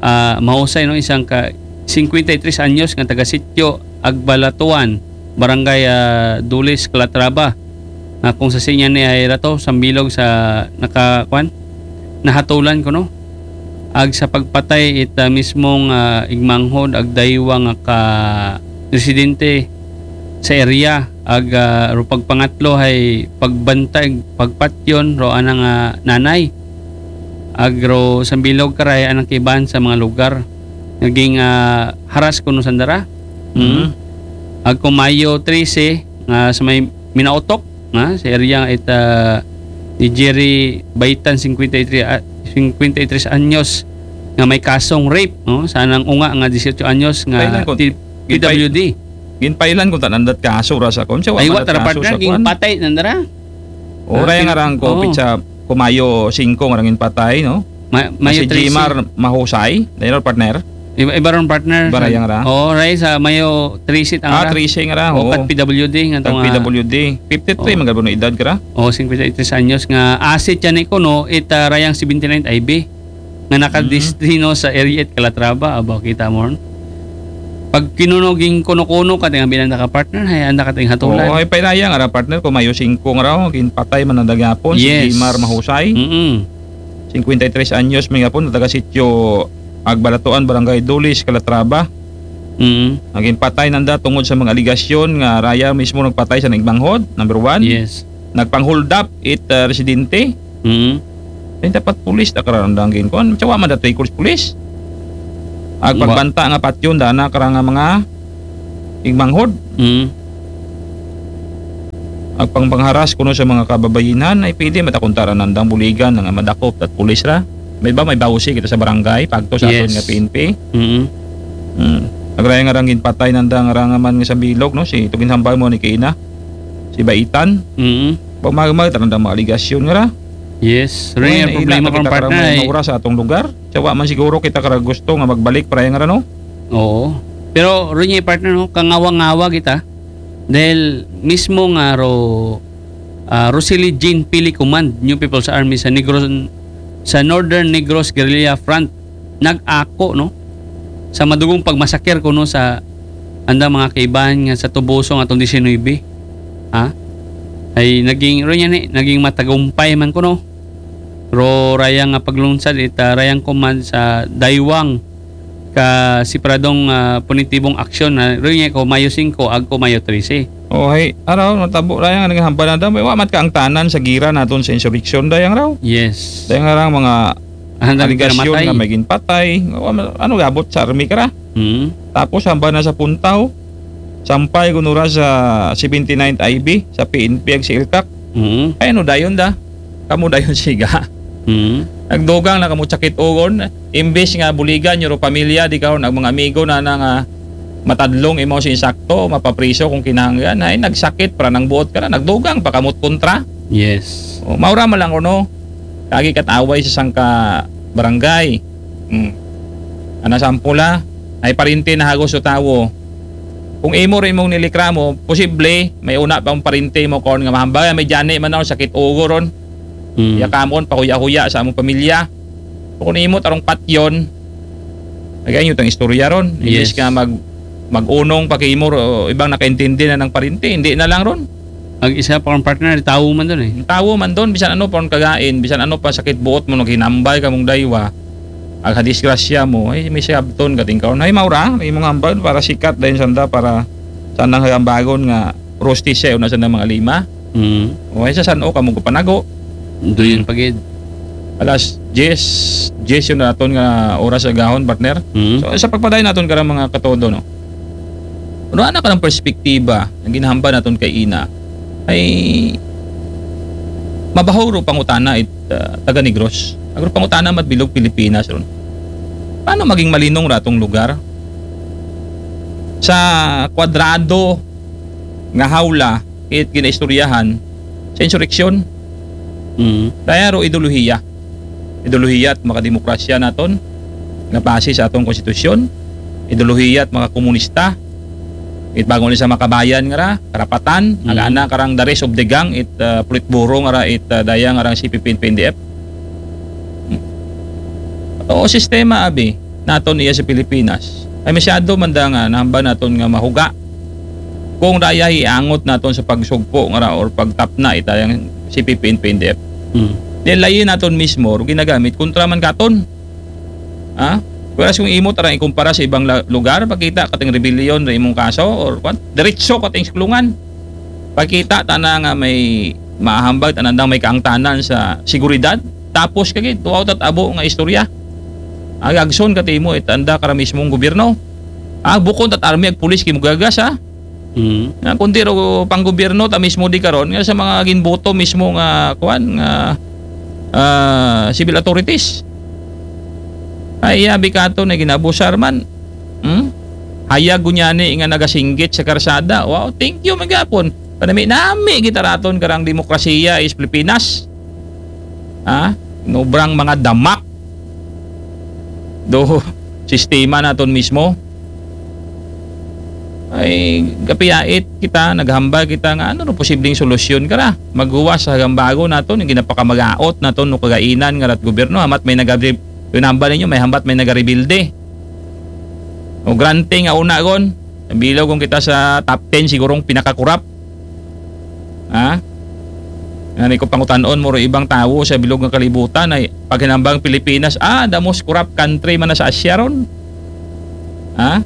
ah, Mahusay, no? Isang ka, cincuenta y tres anyos nga taga Sitio Agbalatuan, Barangay, ah, Dulis, Calatrava. Nga kung sa sinya ni ay rato, Sambilog sa naka, kwan? Nahatulan ko, no? Ag sa pagpatay it, ah, mismong, ah, igmanghod, ag daywa nga ka residente sa area, ag, ah, ro pagpangatlo hay pagbantay, pagpatyon, ro anang, ah, nanay. Ag ro Sambilog karay anang kiban sa mga lugar. Naging, ah, haras kuno sandara. Mm. Mhm. Ag kung Mayo trese, nga sa may Minaotok, nga sa area it, ah, ni Jerry Baitan, cincuenta y tres, ah, cincuenta y tres anyos, nga may kasong rape, no? Sa anang unga nga dieciocho anyos nga Kailan ko, ti-, ginpay-, P W D. Ginpailan ko tanandat kaso ra sa kon, siya wa Ay, wa man tara, kaso partner, sa kon. Ginpatay nandara. O, Ah, raya nga pin-, rang ko, oo. Pitsa, ko Mayo singko nga rang ginpatay, no? Ma-, Mayo si trese. Jimar Mahusay, na yun, partner? Iba, iba ron, partner. Iba raya nga ra? Oo, ray sa Mayo trese tang Ah, ra. Trese nga ra, O, oo. Kat P W D nga Tag tong, ah, P W D. Fifty-three, Oo. Magabo no edad ka ra? Oo, cincuenta y tres anyos nga asset yan ni kuno, it, ah, rayang seventy-nine I B. Nga nakadestino Mm. sa area it Calatrava, aba, kita mo ron. Pag kinunoging kuno-kuno ka, tinga bilang naka-partner, hay, anda ka ting hatulan. Oo, ay, painaya nga ra, partner, ko Mayo singko nga ra, ginpatay man ang dagapon, si Yes. Jimar Mahusay. Mm-mm. Cincuenta y tres anyos, may gapon, taga Sitio Agbalatuan, Barangay Dulis, Calatrava. Mm. Naging patay nanda tungod sa mga aligasyon nga raya mismo nagpatay sa nagmanghod, number one. Yes. Nagpang-hold up it, ah, residente. Mm. Ay, dapat pulis ta karandang ginkuan. Tsawa man datoy pulis. Ag pagbanta nga patyon dana karang mga igmanghod. Mm. Ag pangpangharas kuno sa mga kababayinan ay pwede matakuntaran nandang buligan nga madakop at pulis ra. May ba may bawsi kita sa barangay, pagto sa aton nga P N P. Mm. Hmm. Agraya nga rang ginpatay nandang rangaman nga sa bilog, no? Si tugin hambal mo ni Kina. Si Baitan. Mm. Pag magmag, tarandang mga aligasyon nga ra. Yes. Rin yung problema kong partner ay maura sa atong lugar. Tsawa man siguro kita kara gusto nga magbalik para yung ano. Oo. Pero rin yung partner, no, kangawa-ngawa kita. Dahil mismo nga ro, ah, Rosily Jean Pili Command, New People's Army sa Negros, sa Northern Negros Guerrilla Front, nag-ako, no? Sa madugong pagmasakir kuno sa anda mga kaibahan nga sa Tubuso nga atong disinuybe. Ha? Ay naging, ro niya ni, naging matagumpay man kuno. Ro rayang nga paglunsad ita rayang command sa Daywang ka separadong, ah, punitibong aksyon na ro niya ko Mayo singko agko Mayo trese. Oh, hay, araw, natabo rayang nga naging hambal na daw. May wa mat ka ang tanan sa gira naton sa insurrection, dayang raw. Yes. Dayang nga rang mga aligasyon nga may ginpatay. Ano gabot sa army ka ra? Hmm. Tapos hamba na sa puntaw. Sampay kunura sa seventy-ninth I B sa P N P ag sa ilkak. Hmm. Ay, ano dayon da? Kamo dayon siga. Hmm. Nagdugang na kamo sakit ugon. Imbes nga buligan nyo ro pamilya, di karon ang mga amigo na na nga matadlong imo sa insakto, mapapriso kung kinahanglan. Ay, nagsakit para nang buot ka na. Nagdugang pa kamot kontra. Yes. O, maura man lang kuno. Kagi kat away sa sangka barangay. Hmm. Ana sampula, ay parinte na hagos o tawo. Kung imo rin mong nilikramo, posible, may una pa ang parinte mo kon nga mahambal, may jani man ako, sakit ugo ron. Hmm. Ya kamon, pahuya-huya sa among pamilya. Kung imo tarong patyon, nagayon tang istorya ron. Imbis Yes. nga mag, mag-unong pakimo, o ibang nakaintindi na ng parinte, hindi na lang ron. Ang isa pa kong partner, tawo man dun eh. Ang tawo man dun, bisan ano pa ang kagain, bisan ano pa sakit buot mo, naghinambal ka mong daywa, ag hadisgrasya mo, ay, may siyabton ka tingkaon. Ay, maura, may mga hambal para sikat dahil sanda, para sanang hagambagon nga rosti siya, una sa mga lima. Mm. O, ay, sa san-o ka mong panago. Doon yun pagid. Alas diyes, diyes yun naton nga oras sa gahon, partner. Mm. So, sa pagpadayon naton karang mga katodo, no? Ano, anak ka ng perspektiba, ang ginahamba naton kay ina, ay mabahaw ro pangutana it, ah, taga Negros. Agro pangutana mat bilog Pilipinas ron. Paano maging malinong ratong lugar? Sa kwadrado nga hawla, it ginaistoryahan sa insureksyon. Mm. Daya ro ideolohiya. Ideolohiya at makademokrasya naton nga base sa atong konstitusyon. Ideolohiya at makakomunista. It bago ni sa makabayan nga ra, karapatan, Mm. ang ana karang the rest of the gang, it, uh, Politburo nga ra, it, uh, daya nga rang C P P and P N D F. Hmm. O sistema abi naton iya sa Pilipinas. Ay masyado man da nga nahamba naton nga mahuga. Kung daya iangot naton sa pagsugpo nga ra or pagtapna itayang C P P and P N D F. Hmm. Di layi naton mismo ro ginagamit kontra man katon. Ha? Whereas kung imo tarang ikumpara sa ibang la-, lugar, pagkita kating rebellion ra imong kaso or kwan, diretso kating siklungan. Pagkita tana nga may mahambag, tanandang may kaangtanan sa seguridad, tapos kagid, tuwaw tat abo nga istorya. Agagson katimo itanda kara mismong gobyerno. Ah, bukon tat army ag pulis kimugagas, ha? Mm. Nga kundi ro pang gobyerno ta mismo di karon nga sa mga ginboto mismo nga kuan nga, ah, civil authorities. Ay, iya bikato na ginabusar man. Hmm? Hayag gunyani nga nagasinggit sa karsada. Wow, thank you magapon. Panami-nami kita raton karang demokrasiya is Pilipinas. Ha? Nobrang mga damak do sistema naton mismo. Ay, gapiyait kita, naghambal kita nga ano no posibleng solusyon kara. Maghuwas sa gambago naton, yung ginapakamagaot naton no kagainan nga rat gobyerno, hamat may nagabri-, yung hambal ninyo, may hambat may nagarebilde. O grante nga una gon, bilog kung kita sa top ten sigurong pinakakurap. Ha? Nga ni ko pangutanon mo ro ibang tawo sa bilog nga kalibutan ay paghinambang Pilipinas, ah, the most corrupt country man na sa Asia ron. Ha?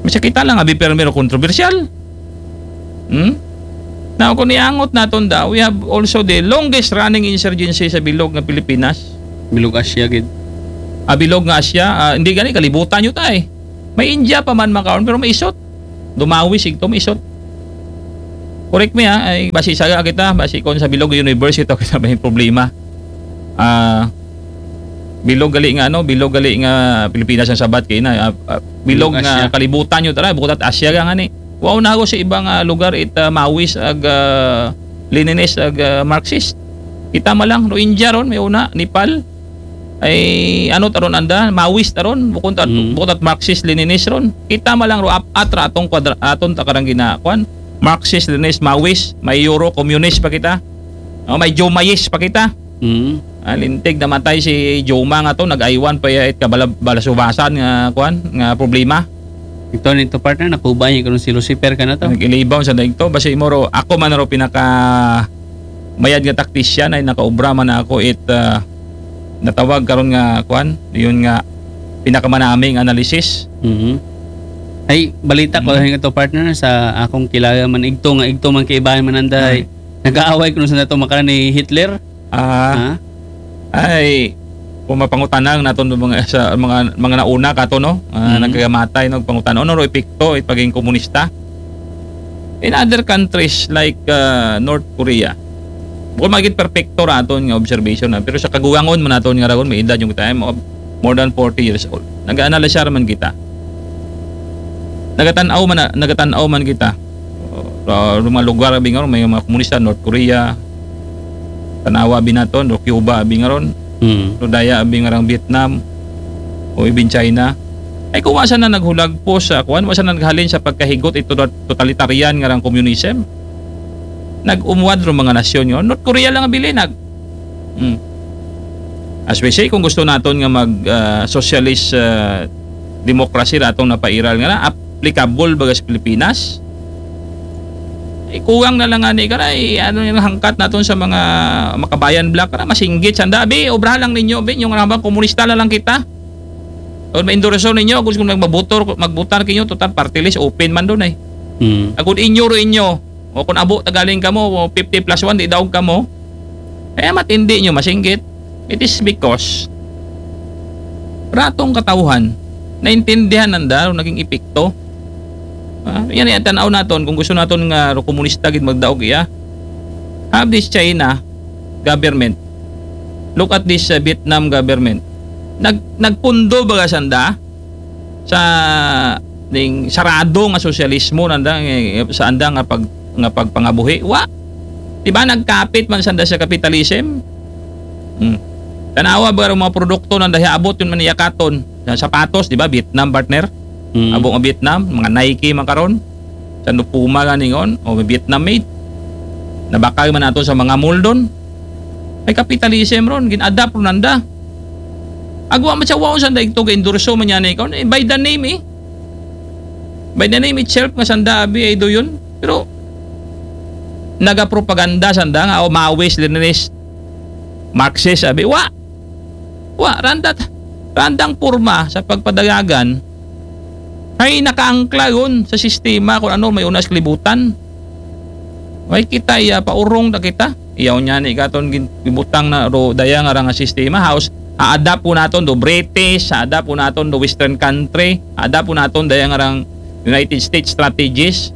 Masakita lang, abi permi ro kontrobersyal. Hmm? Now, kung iangot naton da, we have also the longest running insurgency sa bilog nga Pilipinas. Bilog Asya gid. Ah, bilog nga Asya, ah, hindi gani, kalibutan yun tayo. May India pa man makaon, pero maisot. Dumawi sigto, maisot. Correct me ha, ay basi saga kita, basi kon sa bilog universe ito kita may problema. Ah, bilog gali nga ano, bilog gali nga Pilipinas ang sabat kay na, ah, ah, bilog Bilog nga Asya. Kalibutan yun tara, bukod at Asya ka nga ni. Wow na ako sa ibang ah, lugar it ah, Maoist ag ah, Leninist ag ah, Marxist. Kita man lang, Rohingya ron, may una, Nepal. Ay ano taron anda, Maoist taron, bukod at, Mm. bukod at Marxist Leninist ron. Kita man lang ro ap atra atong kwadra aton takarang ginakuan. Marxist Leninist Maoist, may Euro communist pa kita. Oh, may Jomaist pa kita. Mm. Ah, lintig namatay si Joma nga to, nag-aywan pa ya it kabala balasubasan nga kuan, nga problema. Ito nito partner, nakubay karon si Lucifer ka na to. Nag-ilibaw sa daig to, basi mo ro, ako man ro pinaka mayad nga taktisyan ay nakaobra man ako it ah, natawag karon nga kuan, yun nga pinakamanaming analysis. Mhm. Ay, balita ko Mhm. lang ito partner sa akong kilala man igto nga igto man kaibahan man anda ay nag-aaway kuno sa nato makaran ni Hitler. Ah, Ha? ay kung mapangutanang naton do mga sa mga mga nauna kato no, ah, Mhm. nagkagamatay no pangutan-on no epekto it paging komunista in other countries like ah, North Korea. Bukod magit perpekto ra aton nga observation na, pero sa kaguwangon man naton nga ragon may edad yung time of more than forty years old. Nag-analyze man kita. Nagatan-aw man na, nagatan-aw man kita. Uh, mga lugar abi nga ron, may mga komunista, North Korea, tanawa abi naton, o Cuba abi nga ron, Mm. o daya abi nga rang Vietnam, o even China. Ay kung wasa na naghulagpo sa kuan, wasa na naghalin sa pagkahigot ito totalitarian nga rang communism. Nag-umwad ro mga nasyon yun. North Korea lang ang bilinag. Hmm. As we say, kung gusto naton nga mag ah, socialist ah, democracy ratong napairal nga na, applicable baga sa Pilipinas? Ikuwang na lang ani karay ano yung hangkat naton sa mga makabayan bloc na masinggit sanda. Abi, obrahan lang ninyo, abi, yung rambang komunista na lang kita. O maindorso ninyo, kung gusto magmabutor, magbutar kinyo, total party list, open man doon eh. Mm. Agud inyo ro inyo, o kung abo tagaling kamo, o fifty plus one, di daog kamo. Kaya matindi nyo masinggit. It is because ratong katawhan, naintindihan nanda ro naging epekto. Ah, yan ay tanaw naton kung gusto naton nga ro komunista gid magdaog iya. Have this China government. Look at this uh, Vietnam government. Nag nagpundo baga sanda sa ning sarado nga sosyalismo nanda eh, sa anda nga pag nga pagpangabuhi. Wa. Di ba nagkapit man sanda sa capitalism? Hmm. Tanawa ba ang mga produkto nanda hiabot yun man iyakaton? Sa sapatos, di ba? Vietnam partner. Mm. Abo nga Vietnam, mga Nike man karon. Sa Puma nga ningon, o Vietnam made. Nabakal man nato sa mga mall doon. May capitalism ron, gin-adapt ron nanda. Agwa man sa waon sanda igto ga-endorso man yan ikaw. Eh, by the name eh. By the name itself nga sanda abi ay do yun. Pero nagapropaganda sanda nga o Maoist, Leninist, Marxist abi. Wa. Wa, randat randang porma sa pagpadagagan ay nakaangkla yun sa sistema kung ano may unas kalibutan. May kita iya paurong na kita. Iyaw niya ni katon gin- gibutang na ro daya nga rang sistema. Haos, a-adapt po naton do British, a-adapt po naton do Western country, a-adapt po naton daya nga rang United States strategies.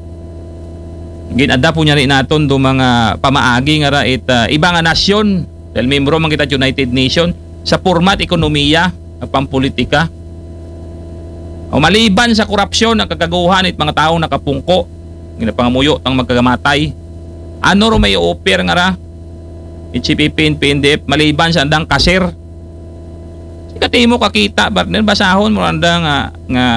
Gin-adapt po niya rin naton do mga pamaagi nga ra it ah, iba nga nasyon. Dahil membro man kita United Nation sa format ekonomiya, pampolitika. O maliban sa korupsyon, ang kagaguhan it mga taong nakapungko, ginapangamuyo tang magkagamatay. Ano ro may offer nga ra? H P P and P N D F, maliban sa andang kasir. Katimo kakita, partner, basahon mo anda nga, nga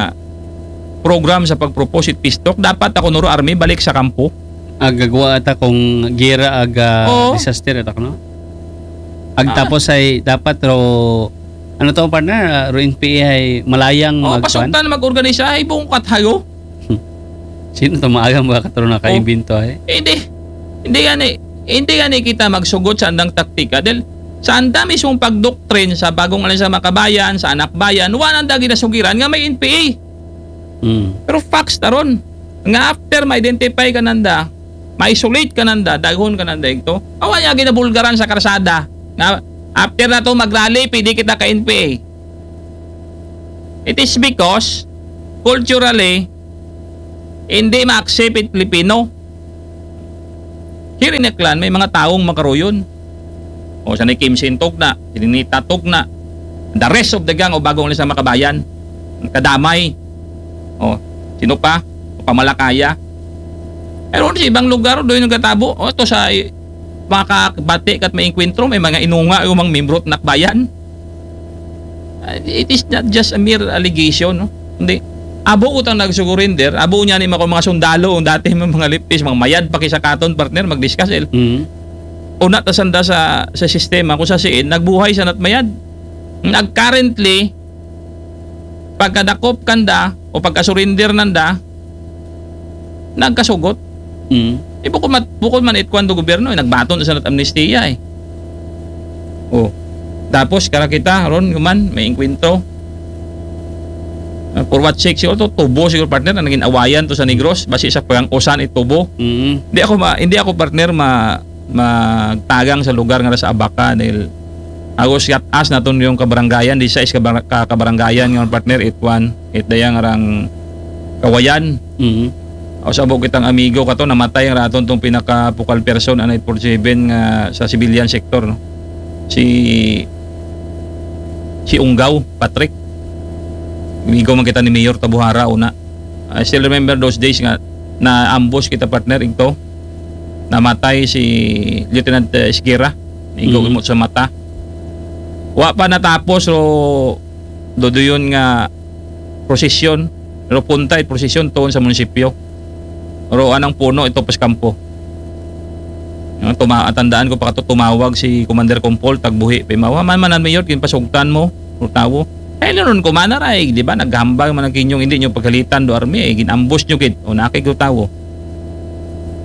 program sa pag-propose it peace talk. Dapat ako nuro army, balik sa kampo. Agagwa ata kung gira aga Oo. Disaster ata no? Ag Ah. Tapos ay dapat ro ano to partner, ah, ro N P A ay malayang Oh, magkuan? Pasuntan mag-organisa ay buong kathayo. Sino to maagang mga katro na kaimbento ay? Eh, hindi. Hindi gani. Hindi gani kita magsugot sa andang taktika. Dahil sa anda mismong pagdoktrin sa bagong alam sa makabayan, sa anak bayan, wala nanda ginasugiran nga may N P A. Mm. Pero facts ta ron. Nga after ma-identify kananda, ma-isolate kananda, daghon kananda igto. Awa niya ginabulgaran sa karsada. Nga after nato mag-rally, pwede kita ka N P A. It is because culturally, hindi ma-accept it Pilipino. Here in Aklan, may mga taong makaruyon. O, sa ni Kim Sin tugna, si Ninita tugna, the rest of the gang o bagong sa Makabayan, kadamay. O, sino pa? Pamalakaya. Pero sa ibang lugar, doon yung katabo. O, ito sa i- makakabati kat may engkwentro, may mga inunga yung mga membro at nakbayan. Uh, it is not just a mere allegation, no? Hindi. Abo utang nag-surrender, abo niya ni mga, mga sundalo, ang dati mga, mga lipis, mga mayad pa kisa katon, partner, mag-discuss, el. Mm. Una ta sanda sa, sa sistema, kung sa siin, nagbuhay sa natmayad. Nag currently, pagkadakop kanda, o pagka-surrender nanda, nagkasugot. Mm. Eh, bukod, mat, bukod man it kwan do gobyerno, eh, nagbaton sa nat amnestia, eh. Oh. Tapos, kara kita, ron, man, may engkwentro. Uh, for what sake, siguro to, tubo, siguro, partner, na naging awayan to sa Negros, basi sa pang usan itubo. Mm. Hindi ako, ma, hindi ako, partner, ma, magtagang sa lugar nga sa Abaca, dahil ako siya as naton yung kabarangayan, di sa is kabar, ka, kabarangayan nga, partner, it one, it dayang arang Kawayan. Mm. O, sabo kitang amigo kato, namatay ang raton tong pinaka focal person anay forty-seven nga sa civilian sector, no? Si, si Unggaw, Patrick. Amigo man kita ni Mayor Tabuhara una. I still remember those days nga na-ambush kita, partner, igto. Namatay si Lieutenant, eh, Esguerra. Amigo Mm. mo sa mata. Wa pa natapos, ro, doduyon nga prosesyon, pero puntay prosesyon tuon sa munisipyo. Pero anang puno ito pas kampo. Yung tuma-, tandaan ko pa kato, tumawag si Commander Compol, tagbuhi, pimawa man man ang mayor, kinpasugtan mo, o tawo. Eh, nanon ko, manaray, di ba? Naghambal man ang kinyong, hindi nyo pagkalitan do army, eh, ginambos nyo gid, o nakig do tawo.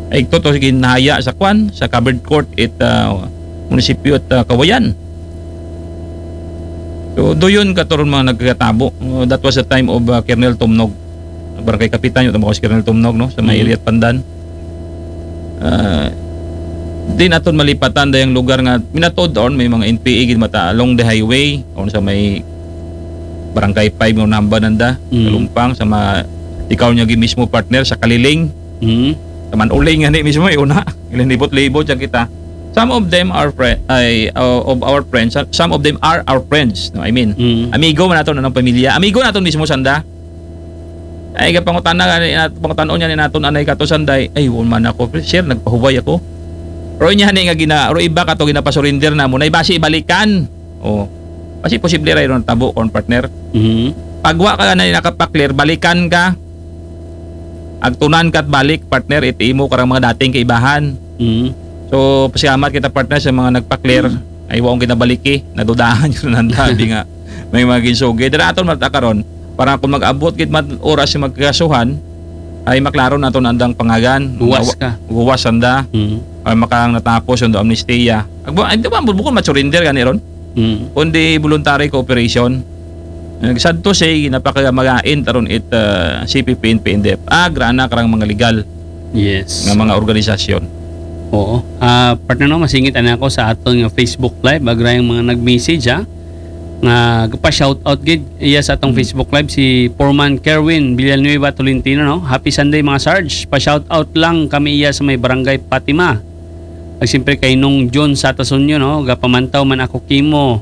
Ay, ito to, ginhaya sa kwan, sa covered court, it, ah, munisipyo at, ah, Kawayan. So, doon katuron mga nagkatabo. Uh, that was the time of, uh, Colonel Tumnog. Barangay Kapitan, yung tama ko si Colonel Tumnog, no? Sa may Mhm. area at Pandan. Uh, di naton malipatan dayang lugar nga minatod on, may mga N P A gid mata along the highway, on sa may Barangay five, no, namba nanda, Mhm. Kalumpang, sa ma-, ikaw niya gid mismo, partner, sa Kaliling. Mhm. Sa Manuling nga ni mismo, yung una. Ilan libot-libot siya kita. Some of them are friend, ay, uh, of our friends. Some of them are our friends. No, I mean, Mm. amigo man naton anang pamilya. Amigo naton mismo sanda. Ay, kapangutana nga ni nat-, pangutanon niya ni naton anay kato sanday. Ay, wala man ako. Sir, nagpahuway ako. Ro niya ni nga gina, ro iba kato ginapasurrender na mo. Na ibasi balikan. Oh. Kasi posible ra yun tabo kon partner. Mhm. Pagwa ka na nakapaklir, balikan ka. Agtunan ka at balik, partner, iti imo karang mga dating kaibahan. Mhm. So, pasalamat kita, partner, sa mga nagpaklir. Ay, waong kinabaliki, nadudahan yun ang dabi nga. May mga ginsugi. Dara aton matakaron. Para kung mag-abot gid man oras sa magkasuhan, ay maklaro naton andang pangagan. Guwas Gawa-, ka. Guwas anda. Mhm. Ay makang natapos yung amnestia. Agbo, ay, di ba, bukod ma-surrender gani ron? Mhm. Kundi voluntary cooperation. Nagsadto siya, napakamagain taron it, ah, C P P and P N D F. Ah, grana karang mga legal Yes. nga mga organisasyon. Oo. Ah, partner, no, masingit ana ako sa aton nga Facebook Live. Agra yung mga nag-message, ha? Nga, pa-shout out gid iya sa atong Mm. Facebook Live, si Foreman Kerwin Villanueva Tolentino, no? "Happy Sunday, mga Sarge. Pa-shout out lang kami iya sa may Barangay Fatima. Ag siyempre kay Nong John Satasunyo, no? Gapamantaw man ako kimo,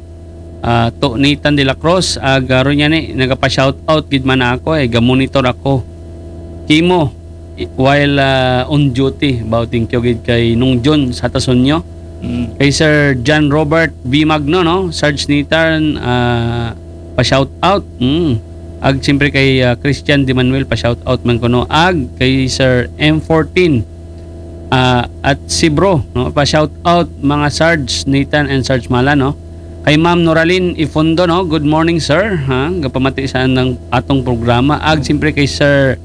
ah, to Nathan de la Cruz, ag, ah, ron niya ni, nagapa-shout out gid man ako, eh, ga-monitor ako kimo, i-, while, ah, on duty." Bao, thank you gid kay Nong John Satasunyo. Mm. Kay Sir John Robert V Magno, no? Sarge Nathan, ah, pa-shout out. Mm. Ag siyempre kay, ah, Christian De Manuel, pa-shout out man kuno. Ag kay Sir M fourteen, ah, at si Bro, no? Pa-shout out mga Sarge Nathan and Sarge Mala, no? Kay Ma'am Noralyn Ifundo, no? "Good morning, sir." Ha? Gapamati sa anang atong programa. Ag siyempre kay Sir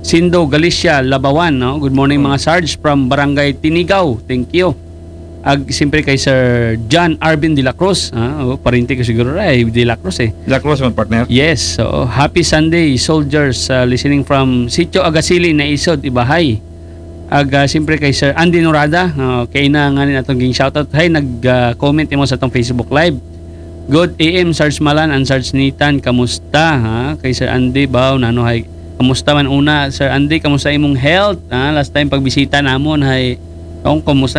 Sindo Galicia Labawan, no? "Good morning, mga Sarge from Barangay Tinigaw." Thank you. Ag, siyempre kay Sir John Arvin de la Cruz. Ah, oh, parente ko siguro ra, eh, de la Cruz, eh. De la Cruz man, partner. Yes, so happy Sunday, soldiers, uh, listening from Sitio Agasili, Naisod, Ibahay. Ag, ah, siyempre kay Sir Andy Norada, oh, kay na nga rin atong ging shoutout. Hay, nag-comment imo sa atong Facebook Live. Good A M, Sarge Malan and Sarge Nathan, kamusta, ha? Kay Sir Andy, baw, nano, hay, kamusta man una, Sir Andy, kamusta imong health? Ha? Last time pagbisita namon, hay, kung kamusta